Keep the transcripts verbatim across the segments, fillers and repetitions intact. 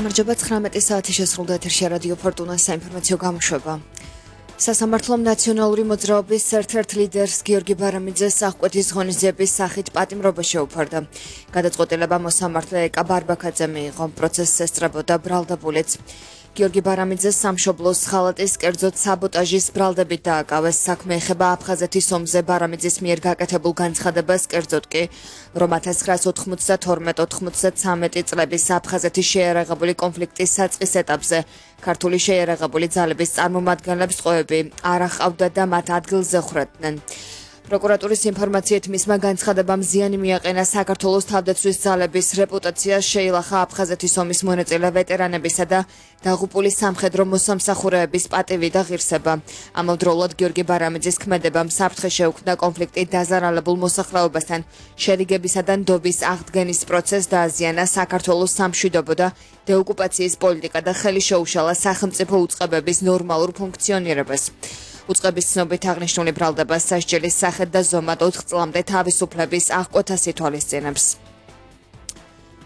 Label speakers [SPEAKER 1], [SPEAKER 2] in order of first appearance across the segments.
[SPEAKER 1] გამარჯობა ცხრამეტი საათი შესრულდა ეთერში რადიო ფორტუნას საინფორმაციო გამოშვება. სასამართლომ ნაციონალური მოძრაობის ერთ-ერთ ლიდერს გიორგი ბარამიძეს აღკვეთის ღონისძიების სახით პატიმრობა შეუფარდა. გადაწყვეტილება მოსამართლე ეკა ბარბაქაძე მიიღო. პროცესს ესწრებოდა ბრალდებულიც. გიორგი ბარამიძეს სამშობლოს ხალატის კერძოდ საბოტაჟის ბრალდებით დააკავეს. საქმე ეხება აფხაზეთის ომზე ბარამიძის მიერ გაკეთებულ განცხადებას, კერძოდ კი რომ ათას ცხრაას ოთხმოცდათორმეტ ოთხმოცდათრამეტი წლების აფხაზეთის შეიარაღებული კონფლიქტის საწყის ეტაპზე ქართული შეიარაღებული ძალების წარმომადგენლებს ყოები არ ახავდა და მათ ადგილზე ხრედნენ. პროკურატურის ინფორმაციით მისმა განცხადებამ ზიანი მიაყენა საქართველოს თავდაცვის ძალების რეპუტაციას, შეილახა აფხაზეთის ომის მონაწილე ვეტერანებისა და დაღუპული სამხედრო მოსამსახურეების პატივი და ღირსება. ამავდროულად გიორგი ბარამიძის ქმედებამ საფრთხე შეუქმნა კონფლიქტით დაზარალებულ მოსახლეობასთან შერიგებისა და ნდობის აღდგენის პროცესს დააზიანა საქართველოს სამშვიდობო და დეოკუპაციის პოლიტიკა და ხელი შეუშალა სახელმწიფო უწყებების ნორმალურ ფუნქციონირებას. უწყების ცნობით აღნიშნული ბრალდება სასჯელის სახით და ზომად ოთხ წლამდე თავისუფლების აღკვეთას ითვალისწინებს.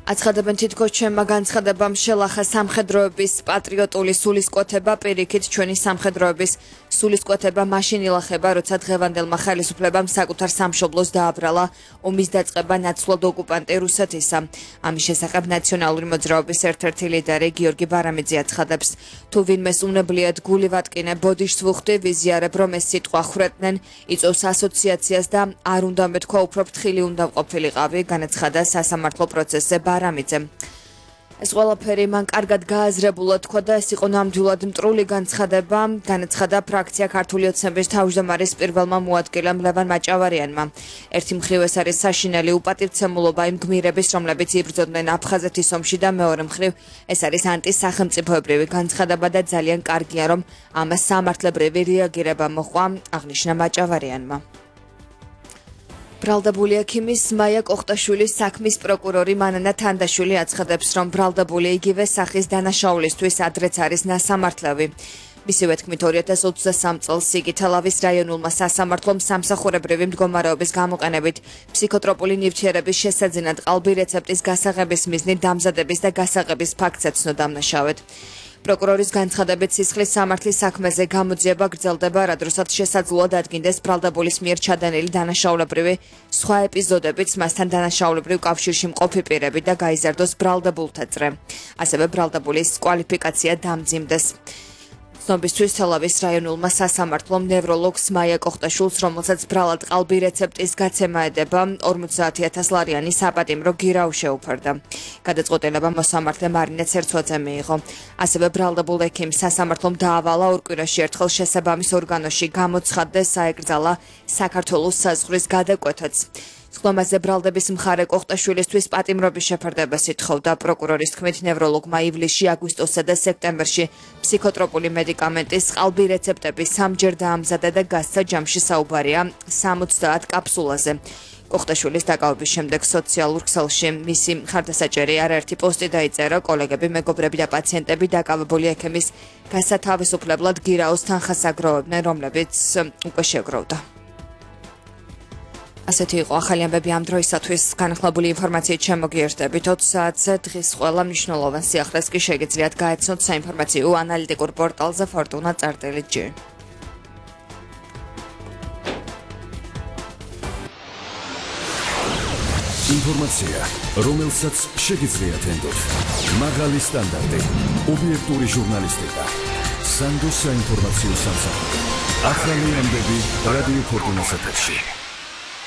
[SPEAKER 1] აცხადებენ თითქოს ჩემმა განცხადებამ შელახა სამხედროების პატრიოტული სულისკვეთება, პირიქით ჩვენი სამხედროების სულისკვეთება მაშინ ილახება, როცა დღევანდელმა ხელისუფლებამ საკუთარ სამშობლოს დააბრალა ომის დაწყება ნაცვლად ოკუპანტი რუსეთისა. ამის შესახებ ნაციონალური მოძრაობის ერთ-ერთი ლიდერი გიორგი ბარამიძე აცხადებს, თუ ვინმეს უნებლიათ გული ვატკინე, ბოდიშს ვუხდი, ვიზიარებ, რომ ეს სიტყვა ხრეტნენ, იწვევს ასოციაციას და არ უნდა მეთქვა, უფრო ფრთხილი უნდა ყოფილიყავი, განაცხადა სასამართლო პროცესზე ბარამიძემ. ეს ყველაფერი მან კარგად გააზრებულა თქვა და ეს იყო ნამდვილად მტრული განცხადება, განაცხადა ფრაქცია ქართული ოცნების თავმჯდომარის პირველმა მოადგილემ ლევან მაჭავარიანმა. ერთი მხრივ ეს არის საშინელი უპატივცემულობა იმ გმირების, რომლებიც იბრძოდნენ აფხაზეთის ომში და მეორე მხრივ ეს არის ანტისახელმწიფოებრივი განცხადება და ძალიან კარგია, რომ ამას სამართლებრივი რეაგირება მოჰყვა, აღნიშნა მაჭავარიანმა. ბრალდებული ექიმის მაია კოხტაშვილის საქმის პროკურორი მანანა თანდაშვილი აცხადებს, რომ ბრალდებული იგივე სახის დანაშაულისთვის ადრეც არის ნასამართლევი. მისივე თქმით ორი ათას ოცდასამ წელს სიგითალავის რაიონულმა სასამართლომ სამსახურებრივი მდგომარეობის გამოყენებით ფსიქოტროპული ნივთიერების შესაძენად ყალბი რეცეპტის გასაღების მიზნით დამზადების და გასაღების ფაქტს ეცნო დამნაშავედ. პროკურორის განცხადებით სისხლის სამართლის საქმეზე გამოძიება გრძელდება, რადგანაც შესაძლოა დადგინდეს ბრალდებულის მიერ ჩადენილი დანაშაულებრივი სხვა ეპიზოდებიც, მასთან დანაშაულებრივ კავშირში მყოფი პირები და გაიზარდოს ბრალდებულთა წრე. ასევე ბრალდებულის კვალიფიკაცია დამძიმდეს. ცნობისთვის თელავის რაიონულმა სასამართლომ ნევროლოგს მაია კოხტაშვილს, რომელსაც ბრალად ყალბი რეცეპტის გაცემა ედება, ორმოცდაათი ათას ლარიანი საპატიმრო გირაუ შეუფარდა. გადაწყვეტილება მოსამართლე მარინე ცერცვაძე მიიღო. ასევე ბრალდებულ ექიმს სასამართლომ დაავალა ორ კვირაში ერთხელ შესაბამის ორგანოში გამოცხადდეს, საეკრძალა საქართველოს საზღვრის გადაკვეთაც. სხდომაზე ბრალდების მხარე კოხტაშვილისთვის პატიმრობის შეფარდებას ითხოვდა. პროკურორის თქმით, ნევროლოგმა ივლისში, აგვისტოსსა და სექტემბერში ფსიქოტროპული მედიკამენტის ყალბი რეცეპტები სამჯერ დაამზადა და გასცა ჯამში საუბარია სამოცდაათ კაფსულაზე. კოხტაშვილის დაკავების შემდეგ სოციალურ ქსელში მისი მხარდასაჭერი არაერთი პოსტი დაიწერა, კოლეგები, მეგობრები და პაციენტები დაკავებული ექიმის გასათავისუფლებლად გირაოს თანხას აგროვებდნენ, რომლებიც უკვე შეგროვდა. ასეთი იყო ახალი ამბები ამ დროისათვის. განახლებული ინფორმაციით შემოგიერთდებით ოც საათზე. დღის ყველა მნიშვნელოვან სიახლეს კი შეგიძლიათ გაეცნოთ საინფორმაციო ანალიტიკურ პორტალზე ფორტუნა წერტილი ჯი.
[SPEAKER 2] ინფორმაცია, რომელსაც შეგიძლიათ ენდოთ. მაღალი სტანდარტი, ობიექტური ჟურნალისტიკა. სანდოს საინფორმაციო სამსახური. ახალი ამბები რადიო ფორტუნას ეთერში.